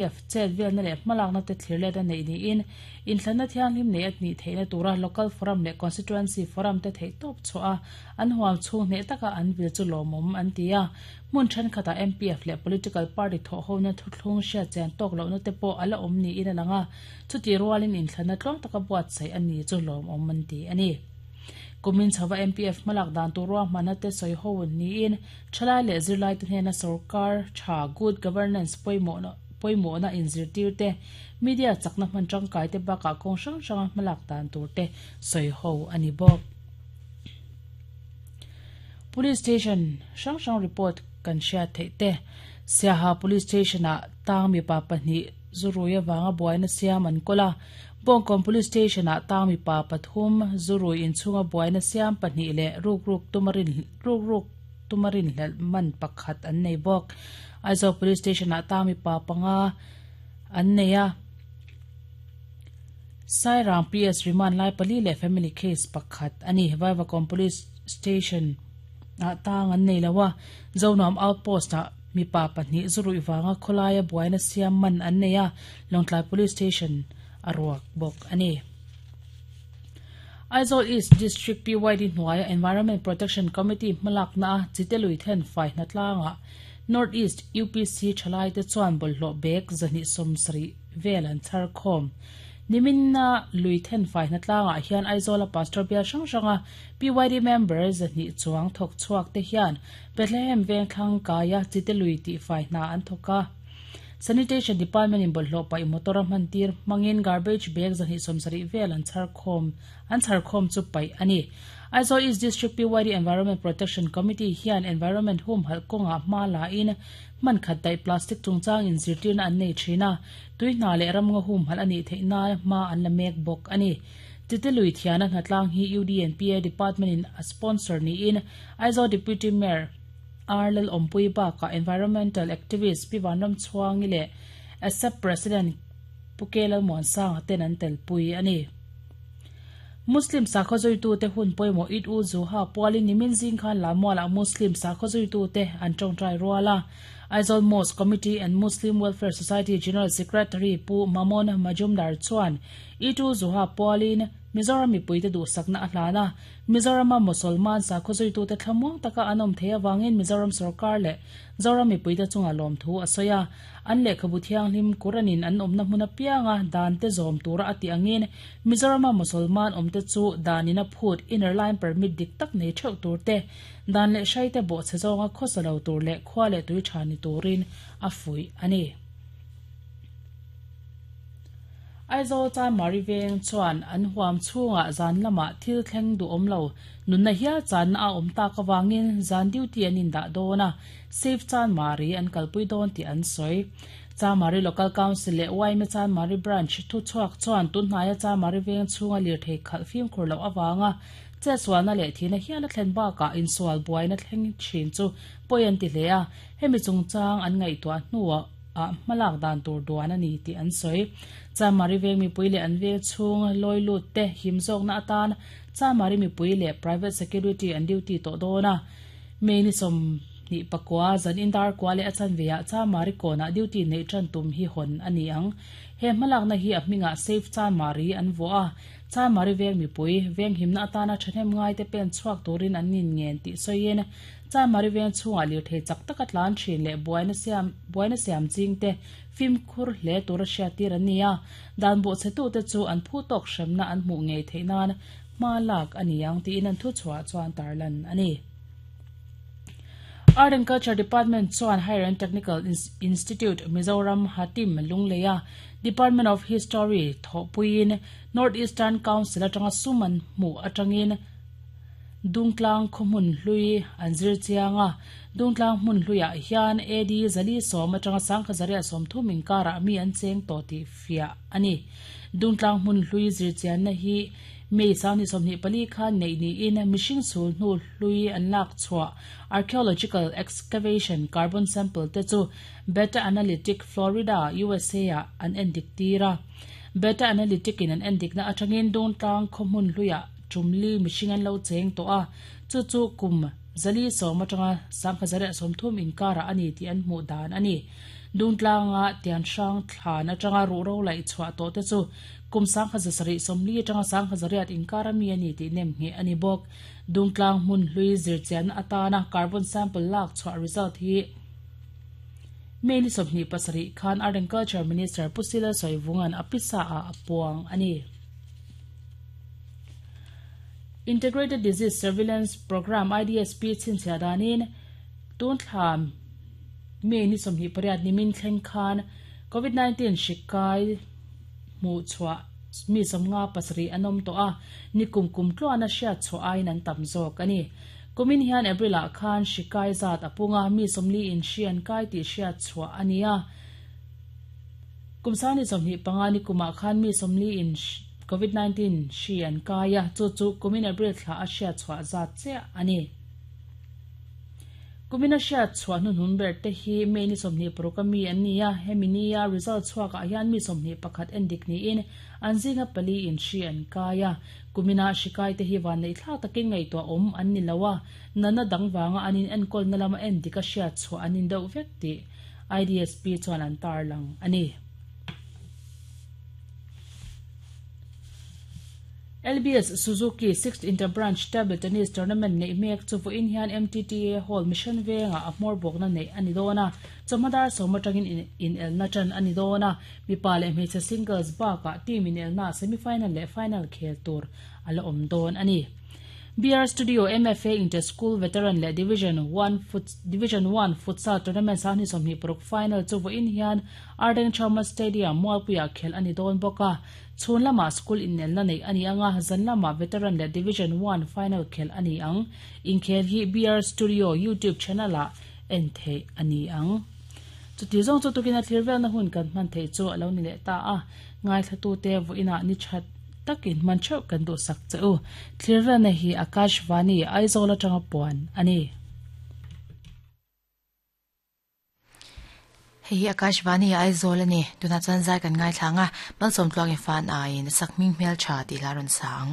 F chet velna leh hmalakna te thlir let a neih niin inthlanna thianghlim nei a nih theihna tura Local Forum leh Constituency Forum te theihtawp chhuah a an huam chhung hneh taka an vil chu lawmawm an ti a. Hmun thenkhatah MPF leh Political Party thawhhona thuthlung hriatchian tawk lohna te pawh a la awm niin a lang a, chutih rualin inthlanna tluang taka buatsaih a ni chu lawmawm an ti a ni. Kumin chhova MPF hmalak dan tur ruahmanna te sawi ho niin Thalai leh zirlaite hnena sorkar tha good governance pawimawhna pawimawhna inzirtir te, media chakna hman tangkai te bakah kawng hrang hranga hmalak dan tur te sawi ho a ni bawk. Police station hrang hrang report kan hriat theih te, Siaha Police Station ah tang mipa pahnih zurui avanga buaina siam an kawl a, Bawngkawn Police Station ah tang mipa pathum zurui inchhunga buaina siam pahnih leh rukruk tuma rin rukruk tuma rinhlelh man pakhat an nei bawk. Aizawl Police Station ah tang mipa panga an nei a, Sairang PS remand lai pali leh family case pakhat a ni. Vaivakawn Police Station ah tang an nei lo a, Zonuam Outpost ah mipa pahnih zuruih vanga khawlaia buaina siam man an nei a, Lawngtlai Police Station a ruak bawk a ni. Aizawl East District PYD hnuaia Environment Protection Committee hmalakna a chite lui then fai hnatlangah North East UPC thalaite chuan bawlhhlawh bag 270 vel an chhar khawm. Niminna lui then fai hnatlangah hian Aizawla Pastor bial hrang hranga PYD member 200 chuang thawk chhuak te hian Bethlehem vengthlang kaia chite lui tihfai hna an thawk a. Sanitation Department in bawlhhlawh paih motor a hman tir hmangin garbage bag 270 vel an chhar khawm an chhar khawm chu paih a ni. Aizawl East District PYD Environment Protection Committee hian environment humhalh kawngah hma la in hman khat daih plastic chungchang inzirtirna an nei thin a, tui hna leh ramngaw humhalh a nih theih nan hma an la mek bawk a ni. Titi lui thiana hnatlang hi UDNPA Department in a sponsor niin Aizawl Deputy Mayor R Lalawmpui bakah Environmental Activist Pi Vanramchhuangi leh ASAP President Pu K Lalmuansanga ten an telpui a ni. Muslim sakhaw zuitute hun pawimawh Eid ul Zuha pualin nimin zing khan Lamualah Muslim sakhaw zuitute an tawngtai rual a. Aizawl Mosque Committee and Muslim Welfare Society General Secretary Pu Mamon Majumdar chuan Eid ul Zuha pualin Mizoram mipuite duhsakna a hlan a. Mizorama Mosolman sakhaw zuitute thlamuang taka an awm thei avangin Mizoram sorkar leh Zoram mipuite chunga lawmthu a sawi a. An lehkhabu thianghlim Quran-in an awmna hmun apianga dante zawm tura a tih angin Mizorama Mosolman awmte chu danin a phut Inner Line Permit dik tak nei theuh tur te, dan leh hraite bawhchhe zawnga khawsa lo tur leh khua leh tui tha ni turin a fuih a ni. Aizawl Chanmari veng chuan an huam chhungah zan lamah thil thleng duhawm lo nunna hial channa a awm tak avangin zan duty an indah dawn a, Safe Chanmari an kalpui dawn tih an sawi. Chanmari Local Council leh yma Chanmari Branch thuchhuak chuan tunhnaia Chanmari veng chhunga lirthei khalh fimkhur loh avanga chetsualna leh thihna hial a thlen bakah insual buaina thleng thin chu pawi an ti hle a, hemi chungchang an ngaihtuah hnuah ah hmalak dan tur duan a ni tih an sawi. Chamari veng mipui leh an veng chhung lawi lut te him zawkna atan Chamari mipui leh private security an duty tawh dawn a. May ni 29 zan indar kua leh a chanve ah Chamari kawnah duty neih tan tum hi hawn a ni ang. He hmalakna hi a hmingah Safe Chamari an vuah a. Chamari veng mipui veng himna atana thahnem ngaite pen chhuak turin an inngen tih sawiin Chamari veng chhungah lirthei chak taka tlan thin leh buaina siam buaina siam chingte fimkhur hle tura hriattir an ni a, dan bawhchhetute chu an phu tawk hremna an hmuh ngei theih nan hma lak a ni ang tiin an thuchhuah chuan tarlan a ni. Art and Culture Department chuan Higher and Technical Institute Mizoram Hatim Lungleia Department of History thawhpuiin North Eastern Council atanga sum an hmuh atangin Dungtlang khaw hmun hlui an zir chiang a, Dungtlang hmun hluiah hian AD 410 atanga 1930 inkarah mi an cheng tawh tih fiah a ni. Dungtlang hmun hlui zir chianna hi May 2024 khan neih niin mihring chhul hnu hlui an lak chhuah archaeological excavation carbon sample te chu Beta Analytic Florida, USA ah an endik tir a. Beta Analytic in an endikna atangin Dungtlang khaw hmun hluiah Tumli mihring an lo cheng tawh a, chu chu kum 410 atanga 1930 inkarah a ni tih an hmuh dan a ni. Dungtlanga Tianhrang thlan atanga ruhro laih chhuah tawh te chu kum 1740 atanga 1800 inkar ami a ni tih nem ngheh a ni bawk. Dungtlang hmun hlui zirchianna atana carbon sample lak chhuah result hi May ni 27 khan Art and Culture Minister Pu Sila Sawivunga'n a pisa ah a puang a ni. Integrated Disease Surveillance Programme, IDSP, chhinchhiah danin tun thla May ni 28 nimin thleng khan Covid 19 hri kai hmuh chhuah mi 57 an awm tawh a, nikum kum tluana hriat chhuah aiin an tam zawk a ni. Kumin hian April ah khan hri kai zat a pung a, mi 40 in hri an kai tih hriat chhuah a ni a. Kum sangni 25 nikumah khan mi 40 in Covid 19 hri an kai a, chu chu kumin April thla a hriat chhuah zat chiah a ni. Kumina hriat chhuah hnuhnun ber te hi May ni 26 a mi an ni a, hemi nia result chhuak ah hian mi 21 en dik niin an zinga pali in hri an kai a. Kumina hri kai te hi vanneih thlak takin ngaihtuah awm an ni lo a, natna dang vanga an in enkawlna lama en dik a hriat chhuah an in deuh vek tih IDSP chuan an tarlang a ni. LBS Suzuki Sixth Inter-Branch Table Tennis Tournament neih mek chu vawiin hian MTTA Hall Mission Vengah a hmawr bawkna neih a ni dawn a, chawhma dar sawm atangin inelna tan a ni dawn a, mipa leh hmeichhe singles bakah team inelna semi-final leh final khel tur a la awm dawn a ni. BR Studio MFA Inter-School Veteran leh Division One Division One Futsal Tournament sanghnih 26 final chu vawiin hian Ardeng Chawma Stadium Mualpuiah khelh a ni dawn bawk a. Chhun lamah school inelna neih a ni ang a, zan lamah Veteran leh Division One final khelh a ni ang. Inkhel hi BR Studio YouTube channel-ah en theih a ni ang. Chuti zawng chu tukin a thlir velna hun kan hman theih chu a lo ni leh ta a, ngaithlatute vawiinah ni that takin hman theuh kan duhsak che u. Thlir velna hi Akashvani, Aizawl atanga puan a ni. Hei hi Akashvani Aizawl a ni. Tunah chuan zai kan ngaithla ang a, Malsawmtluangin fan aiin a sak hming hmeltha tih hla a rawn sa ang.